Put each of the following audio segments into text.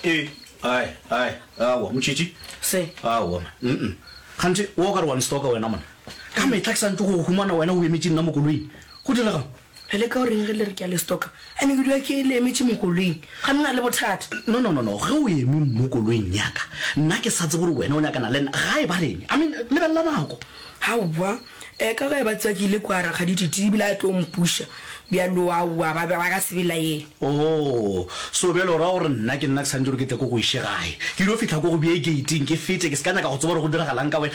Ee, ai, ai, aowa, Motšhitši. Se. Aowa, man. Mm-mm. Kganthe, wo o ka re wa nstoka wena, monna. Ka mehla ke sa ntše go go humana wena o emetše nna mo koloing. Go direga'ng? Le leka go reng ge le re ke a le stoka? Ene ke dula ke le emetše mo koloing. Ga le na le bothata. No, no, no, no. Ge o eme mo koloing ya ka, nna ke sa tsebe gore wena o nyakana le nna. Gae ba reng? I mean, lebelela nako. Aowa. E, ka ge ba tseba ke ile kua Rakgadi Titi ebile a tlo mpuša. Bjalo aowa, ba be ba ka se belaele. Oh, so bjale o ra gore nna ke nna ke swanetše gore ke tle ko go iše gae? Ke dio fihla ko go bee gate-ing ke fete, ke se ka nyaka go tseba gore go diragalang ka wena.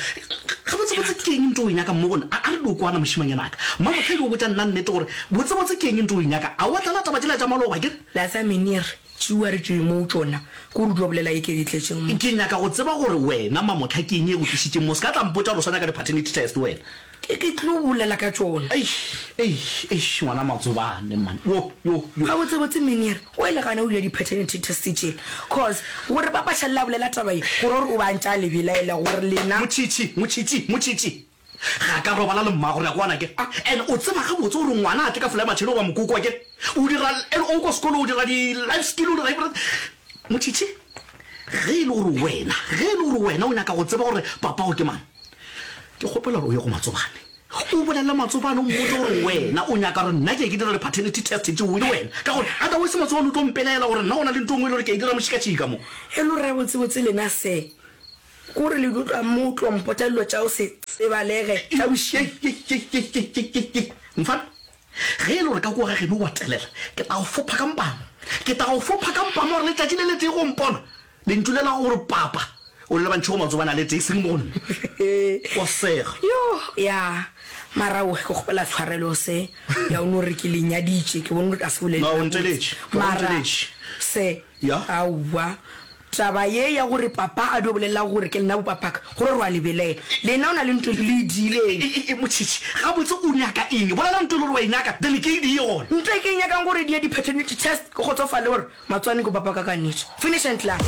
Gabotsebotse ke eng nto o e nyakang mo go nna? A, a re dio kwana mošemanyana ka. Mmamohla dio botša nna nnete gore botsebotse ke eng nto o e nyaka. A wa tlala taba tšela tša maloba, ke re? Latsa Meneer, tšeua re tšwe mo tšona, ke gore o dio bolela e ke di tletšeng mo. Ke nyaka go tseba gore wena Mamohla ke eng e go tlišitšeng mo. Se ka tla mpotša gore o sa nyaka di-paternity test wena. Ke, ke tlo bolela ka tšona. Eish, eish, eish, ngwana Matsobane, man. Yo, yo, yo. Gabotsebotse Meneer, o ile gana o dira di-paternity test tšela. Cause, gore Papa Šalela a bolela taba ye, go ra gore o ba ntše a le belaela gore lena. Motšhitšhi, motšhitšhi, motšhitšhi. Ga ka robala le mmago, re a kwana ke? And o tseba gabotse gore ngwana a tle ka folae matšhele goba mokoko akere? O dira, and o ko sekolo o dira di-life skill, o dira everything. Motšhitšhi, ge e le gore wena, ge e le gore wena o nyaka go tseba gore papago ke mang, Ke kgopela gore o ye go Matsobane. O bolele Matsobane o mmotse gore wena o nyaka gore nna ke ye ke dira di-paternity test tšeo le wena. Ka gore otherwise Matsobane o tlo mpelaela gore nna go na le ntho e nngwe e le gore ke a e dira mošikatšika mo. E le gore gabotsebotse lena se ke gore le dio tloga mo o tlo mpotša dilo tša go se tsebalege tša bošego. Yei-yei-yei-yei-yei-yei-yei. Mfana, ge e le gore ka kua ga geno o a telela, ke tla go fopha ka mpama. Ke tla go fopha ka mpama gore letšatši le letee go mpona. Lentšu le la gore papa o le lebantšhe go matsobane a le tee, seng mo go nna. Wa sega. Yoh, ya. Mara ohe, ke kgopela tshwarelo se. Ya o no re ke le nyaditše, ke bone gore ka se bolele No, o gabotse. nteletše. O Mara nteletše. se, Ya. aowa. Taba ye ya gore papa a dio bolela gore ke lena bopapaka, go re re a le belaela. Lena o na le ntho le e diileng. E, e, e, Motšhitšhi, gabotse o nyaka eng? Bolela ntho e le gore wa e nyaka, then ke e die gona. Ntho e ke e nyakang gore die di-paternity test, ke kgotsofale gore Matswane ko papa ka ka nnete. Finish and klaar.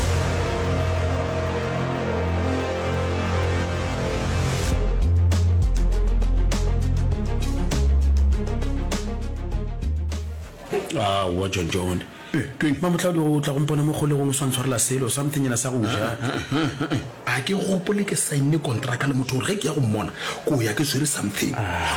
Aowa John John. Mamohla o tla go mpona mo kgolegong o sa ntshwarela selo, something nyana sa go ja. A ke gopole ke saenne kontraka le motho gore ge ke ya go mmona ko ya ke swere something.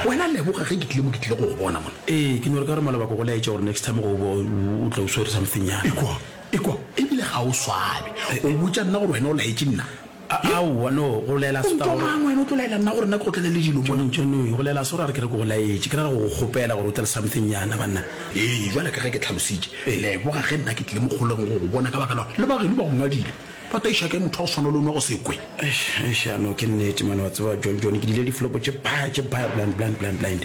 Wena leboga ge ke tlile mo ke tlile go go bona mona. Ee, ke no re ka gore maloba ke go laetša gore next time go bo o tla o swere something nyana. Ekwa, ekwa, ebile ga o swabe. O botša nna gore wena o laetše nna? Aowa, no, go laela se ka gore. O ntwa mang wena o tlo laela nna gore nna ke go tlele le dilo mona? John, John, go laela se gore a re ke re ke go laetše, ke ra go go kgopela gore o tle le something nyana, banna. Ee, bjale ka ge ke tlhalositše, leboga ge nna ke tlile mo kgolegong go go bona ka baka la gore le ba geno ba go ngadile. Ba taiša kae motho wa go swana le o nwa go se kwe? Eish, eish, ya no, ke nnete mane, wa tseba, John, John, ke dile diflopo tše baya, tše baya, blind, blind, blind, blind.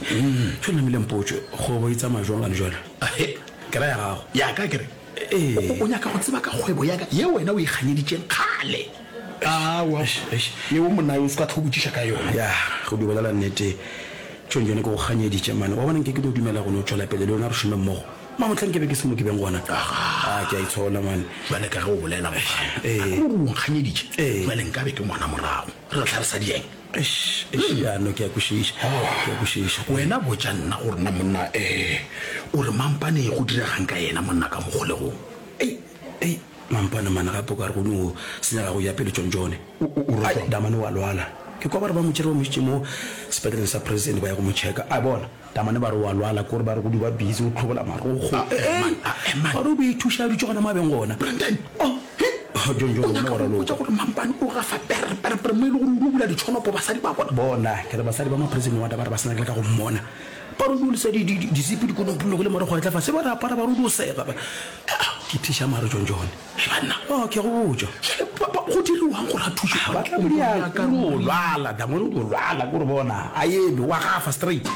Tšo namile mpotše, kgwebo e tsamaya jwang gane jwale? Ahe. Ke ra ya gago. Ya ka, ke re, Ee. O, o nyaka go tseba ka kgwebo ya ka ye wena o e kganyeditšeng kgale? Aowa, Eish, eish. yeo monna yo o se ka tlo botšiša ka yona. Ya, go di bolela nnete, John, John, ke go kganyeditše mane. Wa bona, nke ke no dumela go no tšwela pele le wena re šome mmogo. Mamohla nke be ke se mo ke beng gona. Agaa. A, ke a itshola, man. Bjale ka ge o bolela mofana, Ee. a ke gore o nkganyeditše? Ee. Bjale nkabe ke ngwana morago, re tla re sa dieng? Eish, eish, ya, no, ke a kwešiša. Ke a kwešiša. Wena botša nna gore na monna, eh, o re Mampane go diregang ka yena monna ka mo kgolegong? Ei, ei, Mampane man, gape o ka re go no senyega go ya pele tšontšone. O, o, o re Ai, jwang? Damane o a lwala. Ke kwa ba re ba mo tšere ba mo išitše mo sepetleleng sa president ba ya go mo checka. A bona. Damane ba re o a lwala, ke gore ba re go di ba busy o hlobola marokgo. A, eh, man, a, eh, man. Ba re o be ithuša a dutše gona mo a beng gona. Brandon, Oh, he? Oh, John, John, O wena nyaka wa go mpotša raloka. gore Mampane o gafa pere, pere, pere mo e le gore o dio bula ditšhonopo basadi ba bona? Bona, ke re basadi ba ma prison ward ba re ba se nyake le ka go mmona. Ba re o dio lesa di, di, di, disipi di konopilwe le marokgo a etla fase, ba re apara ba re o dio sega. Ba, ke thiša mare, John, John. Hei banna. Oh, ke a go botša. Bjale ba, ba, go diriwang gore a thušwe? Ba tla mo dia, o dio lwala, Damone o dio lwala, ke gore bona, a eme, o a gafa straight.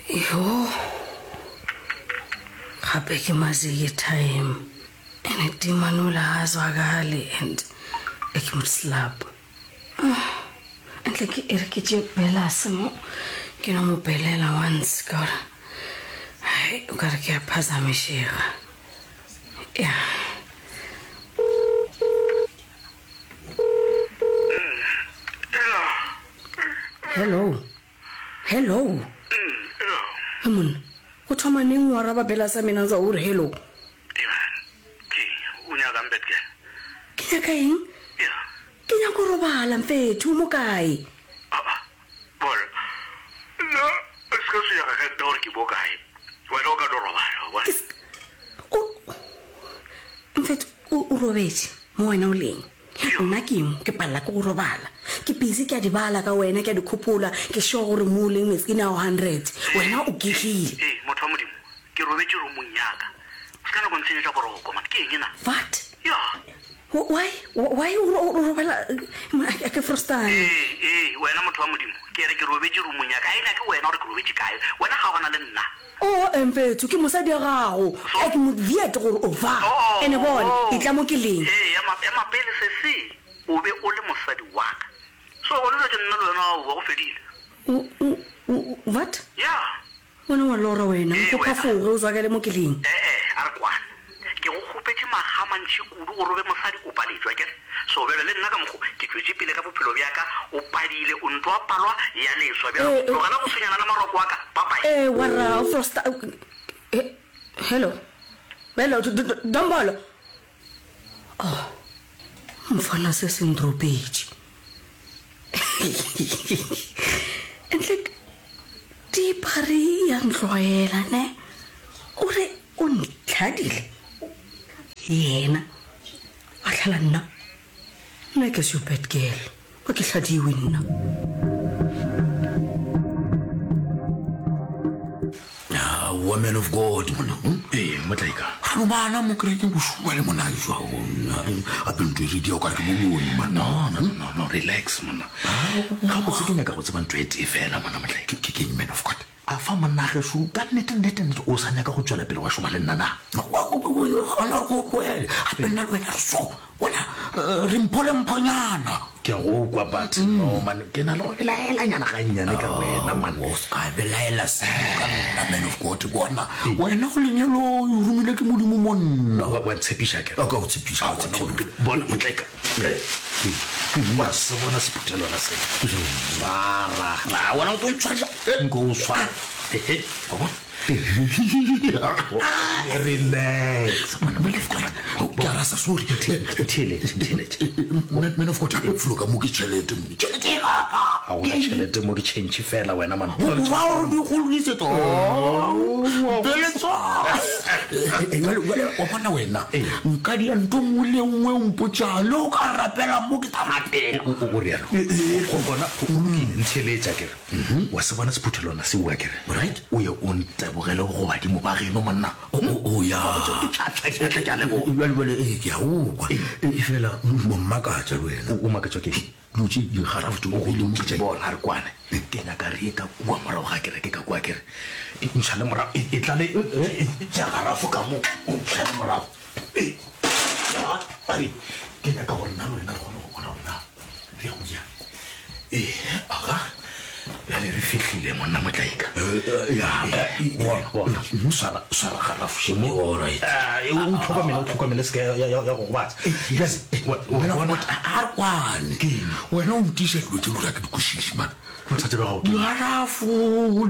Yho, gape ke maziki time ene dimanola ga a zwakale and e ke mo slap. Ntle ke e re ke tše belase mo ke no mo belela once ka gore hai o ka re ke a phazamišega ya. Hello, hello. He monna, o thoma neng o araba Belasa mina nza o re hello? Hey man, ke o nyakang bad girl? Ke nyaka eng? Yeah. Ke nyaka go robala mfethu, o mo kae? Aa, bona, nna o se ka tshwenyega ka nna gore ke mo kae. Wena o ka no robala, wa bona. Ke se, o, mfethu, o, o robetše mo wena o leng. Nna ke mo, ke palela ke go robala. Ke busy ke a di bala ka wena, ke a di khopola, ke sure gore mo o leng metsing a 100. Wena o gegile. Ee, motho wa Modimo, ke robetše roomong ya ka. O se ka nyaka go ntshenyetša boroko, man. Ke eng na? What? Ya. Why? Why o o robala a ke frostane? Ee, ee, wena motho wa Modimo, ke re ke robetše roomong ya ka. Ga e nyake wena gore ke robetše kae. Wena kgaogana le nna. O mfethu, ke mosadi wa gago. A ke mo weird gore o fa. Oh, Ene bona, oh. etla mo ke leng. Ee, ema, ema pele sesi. O be o le mosadi wa ka. So gona bjale ke nna le wena, aowa, go fedile. O, o, o, what? Ya. Wena wa lora wena, Ee, o wena. phafoge o zwakele mo ke leng. E-e, a re kwane. Ke go kgopetše makga a mantši kudu gore o be mosadi, o paletšwe, akere? So bjale le nna ka mokgo ke tšwetše pele ka bophelo bja ka, o padile, o nto a palwa ya leswa. Bjale Eh, eh. tlogela go tshwenyana le maroko a ka. Bye-bye. Eh, warra, o frosta. Eh, hello. Hello, d- d- Dombolo. Oh, mfana se se ndropetše. Entle dipare ya ntlwaela ne. O re o ntlhadile. Yena a tlhala nna. Nna ke se bad girl. Ga ke hladiwe nna. Aowa man of God monna. Hmm? Ee, motlaika. Ga bana mo kerekeng bošuwa le mona jwa gape ntho e re dia o kare ke boloi man. No, no, no, no, relax monna. Gabotse ke nyaka go tseba ntho e tee fela monna motlaika. Ke ke eng man of God? A fa monna gešo ka nnete nnete nnete o sa nyaka go tšwela pele wa šoma le nna na? Gona go tloele gape nna le wena re so bona re mpho le mphonyana. Ke a go kwa but no man ke na le go belaelanyana gannyane ka wena man. O se ka belaela selo ka nna man of God bona wena o lenyalo o romile ke Modimo monna. Wa ntshepiša akere? Ka go tshepiša. Bona motlaika. Wa se bona sephuthelwana se. Swara. A wena o tlo ntshwarela. Nko o swara. Ehe. Wa bona? Relax. Ke a rasa sorry. Ntheeletše, ntheeletše. Man man of God, gape felo ka mo ke tšhelete mo. Tšhelete e kaka. Ga gona tšhelete mo ke change fela wena man. Ba gore di goloditse to. Beletsa. Jale jale wa bona wena. Nka dia ntho nngwe le nngwe o mpotša le o ka rapela mo ke tla rapela. O o rialo. Go gona go lokile ntheeletša ke re. Wa se bona sephuthelwana seo akere? Right. O ye o ntebogele go badimo ba geno monna. O ya. Ke tšhatšha ke a leboga. Jale jale ee ke a o kwa. E fela o mmakatša le wena. O makatšwa ke eng? Dilo tše digarafo tše o beile mo ke tša eng? Bona re kwane. Ke nyaka re ye ka kua morago ga kereke ka kua kere. Ntšhale morago e tla le tša garafo ka mo o ntšhale morago. Ke nyaka gore nna le wena re kgone go bona gore na re ya go jang. Ee, aga bjale re fihlile monna motlaika. Bona, bona, swara, swara garafo še mo. Alright. O tlhokomele, o tlhokomele se ke ya, ya, ya go gobatsa. Bjale, wa- wa Wena, bona, a re kwane. Wena o ntiša dilo tše gore ga ke di kwešiše man. bothata bja gago ke eng? Digarafo,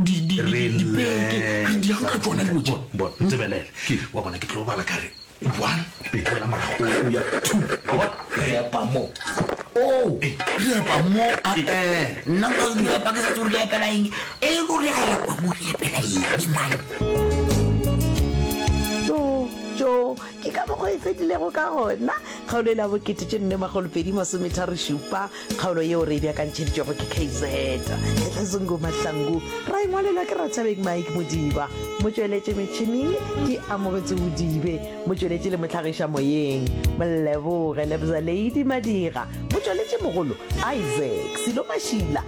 di- di- di- dipeke, re di yang ka tšona dilo tše. Bona, ntebelele. Wa bona ke tlo bala ka re One, boela morago, o ya two, wa bona? Re epa mo. Oh, re epa mo, eh, nna nka di epa ke sa tsebe gore ke epela eng. E le gore re epa mo, re epela eng, man? Tjo, tjo, ke ka mokgwa e fedilego ka gona kgaolo e la bokete tše nne makgolopedi masometharo-šupa, kgaolo yeo re e beakantšheditšwego ke KZ Kgetlazungu Mahlangu, ra e ngwalelwa ke Rathabeng Mike Modiba, motšweletši metšhineng ke Amogetse Bodibe, motšweletši le mohlagiša moyeng Moleboge Lebza Lady Madira, motšweletši mogolo Isaac Silo Mašila.